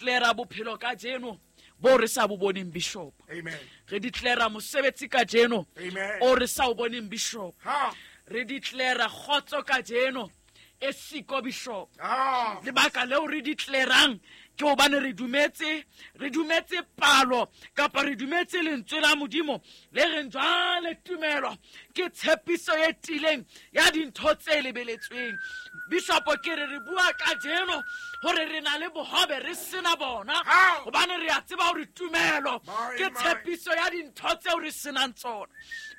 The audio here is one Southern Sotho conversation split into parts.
Declara bophelo kajeno bo re sa bo boneng, bishop. Amen. Re declara mosebetsi kajeno Amen. o re sa o boneng, bishop. Ha. Re declara kgotso kajeno e siko, bishop. Ah. Lebaka leo re declarang ke hobane re dumetse, re dumetse palo kapa re dumetse lentswe la Modimo le reng jwale tumelo ke tshepiso e tiileng ya dintho tse lebeletsweng. Bishopo, ke re re bua kajeno hore re na le bohobe re sena bona, How? hobane re a tseba hore tumelo My, ke my. tshepiso ya dintho tseo re senang tsona.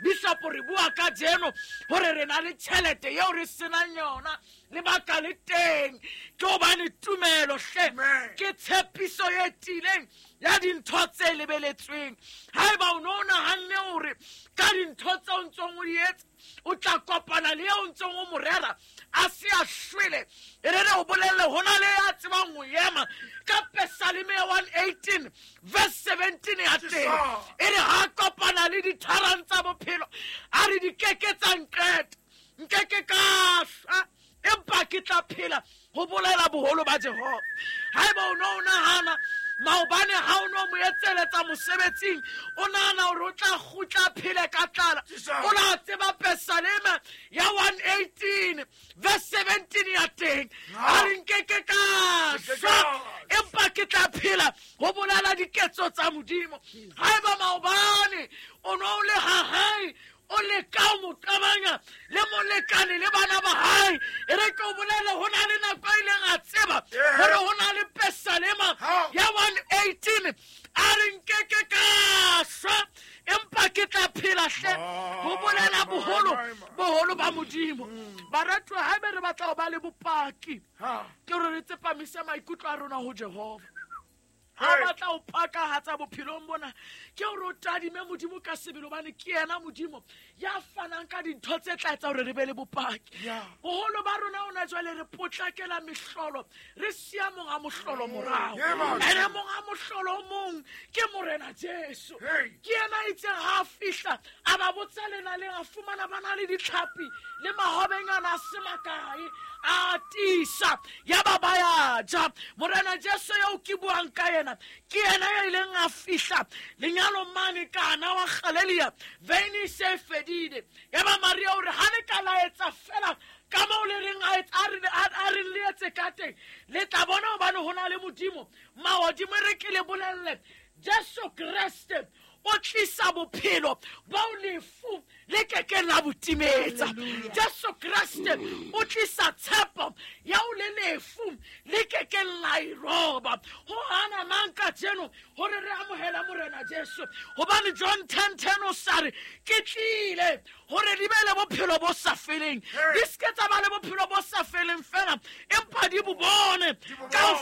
Bishopo, re bua kajeno hore re na le tjhelete eo re senang yona. Lebaka le teng ke hobane tumelo hle Amen. ke tshepiso e tiileng ya dintho tse lebeletsweng. Haeba o no o nahanne hore ka dintho tseo o ntsong o di etsa o tla kopana le eo o ntsong o mo rera a se a shwele, e re re o bolelle ho na le ya tsebang ho ema ka Pesaleme ya 118 verse 17 ya teng, e re ha kopana le ditharang tsa bophelo a re di keke tsa nqeta, nkeke ka shwa empa ke tla phela ho bolela boholo ba Jehova. Haeba o no o nahana maobane ha o no mo etseletsa mosebetsing, o nahana hore o tla kgutla a phele ka tlala, o la tseba Pesaleme ya 118 verse 17 ya teng a re nkeke ka shwa empa ke tla phela ho bolela diketso tsa Modimo. Haeba maobane o no o le ha hae o leka ho mo qabanya le molekane le bana ba hae, e re ke o bolele ho na le nako a ileng a tseba hore ho na le Pesalema ya 118 a re nkeke ka shwa empa ke tla phela hle ho bolela boholo boholo ba Modimo. Baratuwa, haebe re batla ho ba le bopaki, Ha. ke hore re tsepamise maikutlo a rona ho Jehova. Ha o batla ho pakahatsa bophelong bona, ke hore o tadime Modimo ka sebele, hobane ke yena Modimo ya fanang ka dintho tse tla etsa hore re be le bopaki. Yeah. Boholo ba rona hona jwale re potlakela mehlolo, re siya monga mohlolo morao. Yeah, man. Ene monga mohlolo o mong ke Morena Jesu. Hey. Ke yena a itseng ha a fihla a ba botsa lenaleng, a fumana ba na le ditlhapi le mahobenyana a se makae, a tiisa ya ba ba ya ja. Morena Jesu eo ke buang ka yena ke yena ya ileng a fihla lenyalong mane Kana wa Galelia, veine e se e fedile. Ya ba Maria o re ha le ka la etsa fela ka moo le reng a etse, a re le etse ka teng, le tla bona hobane ho na le Modimo mahodimo. E re ke le bolelle, Jesu Kreste o tlisa bophelo bao lefu le kekeng la bo timetsa. Jesu Kreste o tlisa tshepo ya o le lefu le kekeng la e roba. Ho hana mang kajeno hore re amohela Morena Jesu? Hobane John 10:10 o sa re ke tlile hore di be le bophelo bo sa feleng, di se ke tsa ba le bophelo bo sa feleng fela, empa di bo bone ka ho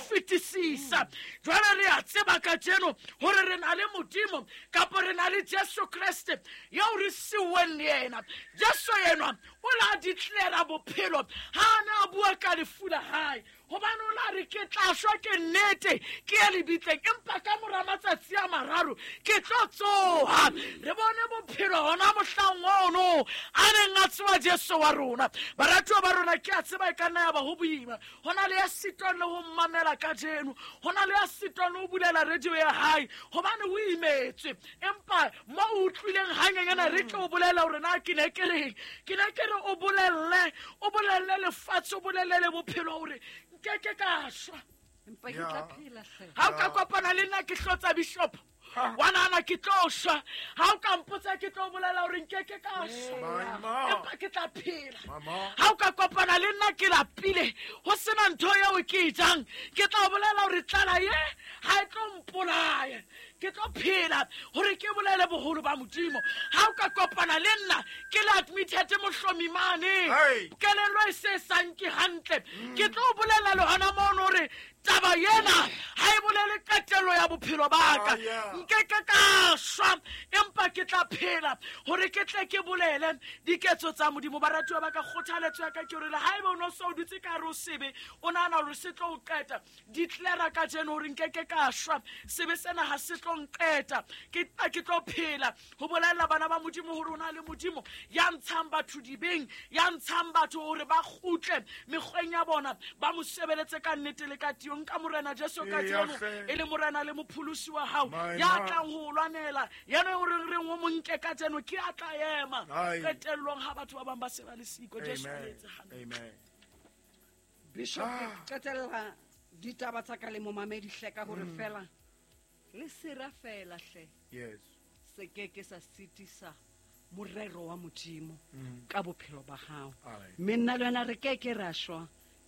fetisisa. Jwale re a tseba kajeno hore re na le Modimo kapa re na le Jesu Kreste eo re siuweng le yena. Jesu enwa o la declara bophelo ha a ne a bua ka lefu la hae, hobane o la re ke tla shwa ke nnete ke ye lebitleng, empa ka mora matsatsi a mararo ke tlo tsoha. Re bone bophelo hona mohlang ono a neng a tseba Jesu wa rona. Baratuwa ba rona, ke a tseba e ka nna ya ba ho boima, ho na le ya sitwang le ho mmamela kajeno, ho na le ya sitwang le ho bulela radio ya hae hobane o imetswe. Empa mo o utlwileng hanyenyana, re tlo o bolela hore na ke ne ke reng. Ke ne ke re o bolelle, o bolelle lefatshe, o bolelle le bophelo hore nkeke ka shwa Empa ke tla phela hle. Ha o ka kopana le nna ke hlotsa, bishop, wa nahana ke tlo shwa. Ha o ka mpotsa, ke tlo bolela hore nkeke ka shwa Mama. empa ke tla phela. Mama. Ha o ka kopana le nna ke lapile ho sena ntho eo ke e jang, ke tla bolela hore tlala ye ha e tlo mpolaya, ke tlo phela hore ke bolele boholo ba Modimo. Ha o ka kopana le nna ke le admitted mohlomi mane, Hey. kelello e se sa nke hantle, ke tlo bolela le hona mono hore taba ena ha e bolele qetello qetello ya bophelo ba ka. Nkeke ka shwa, empa ke tla phela hore ke tle ke bolele diketso tsa Modimo. Baratuwa ba ka, kgothaletso ya ka ke hore le haeba o no so dutse ka hare ho sebe, o nahana hore se tlo o qeta, declare kajeno hore nkeke ka shwa, sebe sena ha se tlo nqeta, ke tlo phela. Ho bolella bana ba Modimo hore o na le Modimo ya ntshang batho dibeng, ya ntshang batho hore ba kgutle mekgweng ya bona, ba mo sebeletse ka nnete le ka tiyo. Nka Morena Jesu kajeno e le Morena le mopholosi wa hao, ya tlang ho o lwanela, yena o reng reng o mo nke kajeno, ke a tla ema qetellong ha batho ba bang ba se ba le siko. Jesu a le etse hantle. Amen. Bishop, ke qetella ditaba tsa ka le momamedi hle ka hore fela le sera fela hle. Yes. Se ke ke sa sitisa morero wa Modimo ka bophelo ba hao. Mme nna le wena re ke ke ra shwa,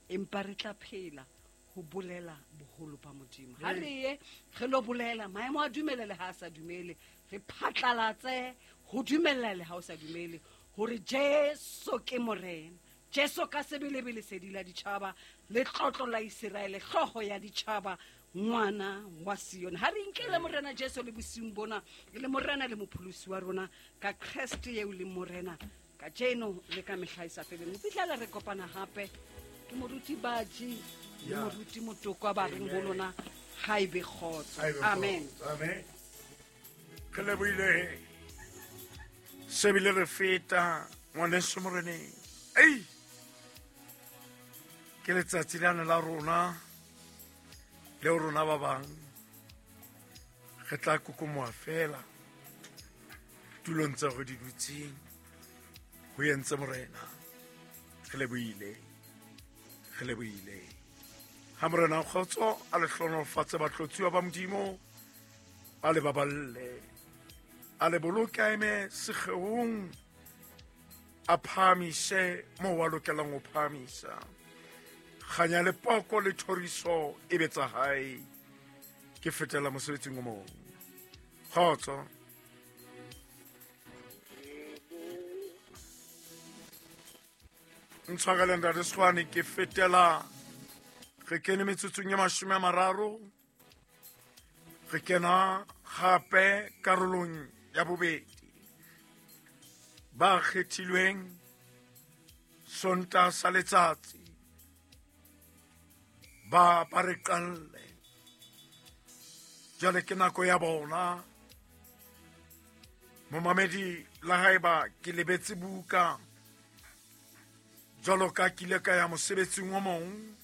empa re tla phela ho bolela boholo ba Modimo. Ha re ye re lo bolela, maemo a dumele le ha a sa dumele, re phatlalatse ho dumella le ha o sa dumele hore Jesu ke Morena. Jesu ka sebelebele sedi la ditjhaba, letlotlo la Iseraele, hlooho ya ditjhaba, ngwana wa Sione. Ha re inkele Morena Jesu le bosiung bona, le Morena le mopholosi wa rona, ka Kreste eo leng Morena kajeno le ka mehla e sa feleng. Ho fihlela re kopana hape, ke moruti Baji le moruti Motokwa ba reng ho lona, ha ebe kgotso. Amen. Amen. Re lebohile se bile re feta ngwaneso Moreneng. Ei, ke letsatsi lane la rona leo rona ba bang re tla kokomoha fela tulong tsa re di dutseng. Ho entse Morena, re lebohile, re lebohile. Ha Morena kgotso a le hlohonolofatse batlotsuwa ba Modimo, a le baballe, a le boloke a eme sekgeong, a phahamise moo a lokelang ho phahamisa. Kganya le poko le thoriso e be tsa hae. Ke fetela mosebetsing o mong. Kgotso. Ntshwarele ntate Swane, ke fetela re kene metsotsong ya 30, re kena gape karolong ya bobedi. Ba kgethilweng Sontaha sa letsatsi ba re qalle. Jwale ke nako ya bona. Momamedi, la haeba ke lebetse buka jwalo ka ke ile ka ya mosebetsing o mong,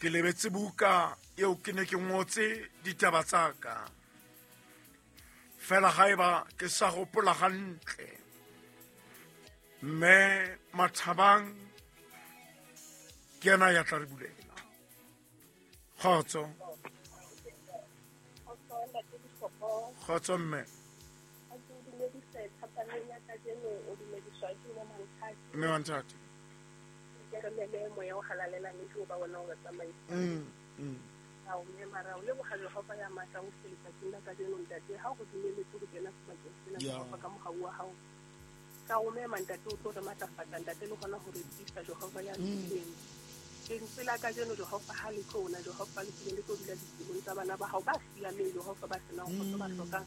ke lebetse buka eo ke ne ke ngotse ditaba tsa ka. Fela haeba ke sa hopola hantle, mme Mathabang ke yena ya tla re bulela. Kgotso. Kgotso mme. Mme Manthati. Ka o mema ntate o tlo re matlafatsa ntate le hona hore tiisa Jehova ya lokileng. Lentswe la kajeno Jehova ha le tlo na Jehova le tlile le tlo dula dipelong tsa bana ba hao ba siameng Jehova ba senang kgotso ba hlokang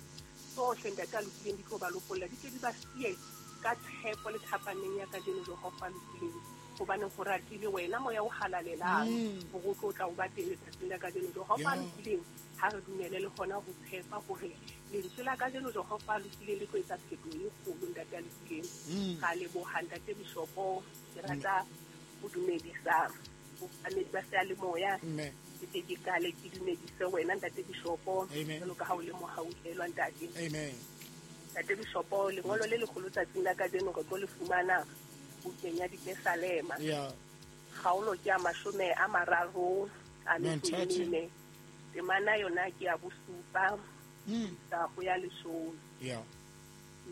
tsohle ntate a lokileng di tlo ba lopolla, di tle di ba siye ka tshepo le thapaneng ya kajeno Jehova lokileng. Hobane ho ratile wena moya o halalelang hore o tlo tla o ba teng letsatsing la kajeno Jehova lokileng. Ha re dumele le hona ho tshepa hore lentswe la kajeno Jehova lokileng le tlo etsa phetoho e kgolo ntate a lokileng. Ra leboha ntate Bishopo, ke rata ho dumedisa bamamedi ba seyalemoya. Ke tle ke qale ke dumedise wena ntate Bishopo, jwalo ka ha o le mohauhelwa ntate. Ntate Bishopo, lengolo le leholo tsatsing la kajeno re tlo le fumana bukeng ya Dipesalema. Kgaolo ke ya 34, temana yona ke ya 7 ho ya 10.